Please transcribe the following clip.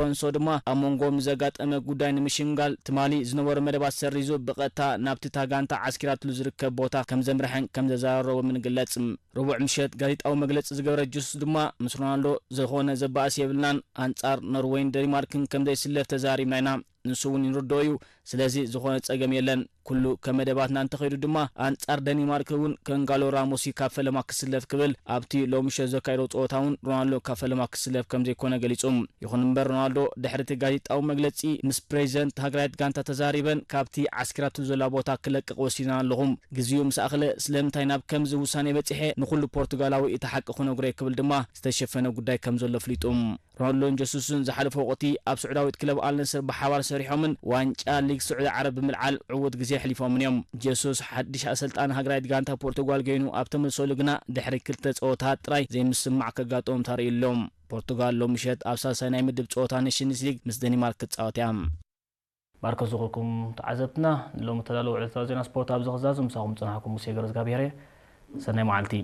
ኣሎንሶ ድማ ኣብ መንጎኦም ንዘጋጠመ ጉዳይ ንምሽምጋል ትማሊ ዝነበሩ መደባት ሰሪዙ ብቐጥታ ናብቲ እታ ጋንታ ዓስኪራትሉ ዝርከብ ቦታ ከም ዘምርሐን ከም ዘዘራረቦምን ይግለጽ። ረቡዕ ምሸት ጋዜጣዊ መግለጺ ዝገበረ ጀሱስ ድማ፣ ምስ ሮናልዶ ዝኾነ ዘባእስ የብልናን፣ ኣንጻር ኖርወይን ደኒማርክን ከም ዘይስለፍ ተዛሪብና ኢና። ንሱ እውን ይርድኦ እዩ። ስለዚ ዝኾነ ጸገም የለን። ኩሉ ከም መደባትና እንተኸይዱ ድማ፣ ኣንጻር ደኒማርክ እውን ከንጋሎ ራሞሲ ካብ ፈለማ ክስለፍ ክብል ኣብቲ ሎምሸት ዘካየዶ ጸወታ እውን ሮናልዶ ካብ ፈለማ ክስለፍ ከም ዘይኮነ ገሊጹ። ይኹን እምበር፣ ሮናልዶ ድሕሪ እቲ ጋዜጣዊ መግለጺ ምስ ፕሬዚደንት ሃገራዊት ጋንታ ተዛሪበን ካብቲ ዓስኪራቱ ዘላ ቦታ ክለቅቕ ወሲና ኣለኹ። ግዜኡ ምስ ኣኽለ ስለምንታይ ናብ ከምዚ ውሳኔ በጺሐ ንኹሉ ፖርቱጋላዊ እቲ ሓቂ ክነግሮ እየ ክብል ድማ ዝተሸፈነ ጉዳይ ከም ዘሎ ኣፍሊጡ። ሮናልዶን ጀሱስን ዝሓለፈ ወቕቲ ኣብ ስዑዳዊት ክለብ ኣልነስር ብሓባር ሰሪሖምን ዋንጫ ሊግ ስዑዲ ዓረብ ብምልዓል ዕዉት ግዜ ኣሕሊፎምን እዮም። ጀሱስ ሓድሽ ኣሰልጣኒ ሃገራዊት ጋንታ ፖርቱጋል ኮይኑ ኣብ ተመልሰሉ ግና ድሕሪ ክልተ ጸወታት ጥራይ ዘይምስምማዕ ከጋጥሞም ተራእዩ ኣሎ። ፖርቱጋል ሎምሸት ኣብ ሳልሳይ ናይ ምድብ ጸወታ ኔሽንስ ሊግ ምስ ደኒማርክ ክትጻወት እያ። ባርከ ዝኹልኩም ተዓዘብትና ንሎሚ ተዳለወ ዕለታዊ ዜና ስፖርት ኣብዚ ክዛዙ ምሳኹም ዝጸናሕኩም ሙሴ ገረዝጋብሔር እየ። ሰናይ መዓልቲ።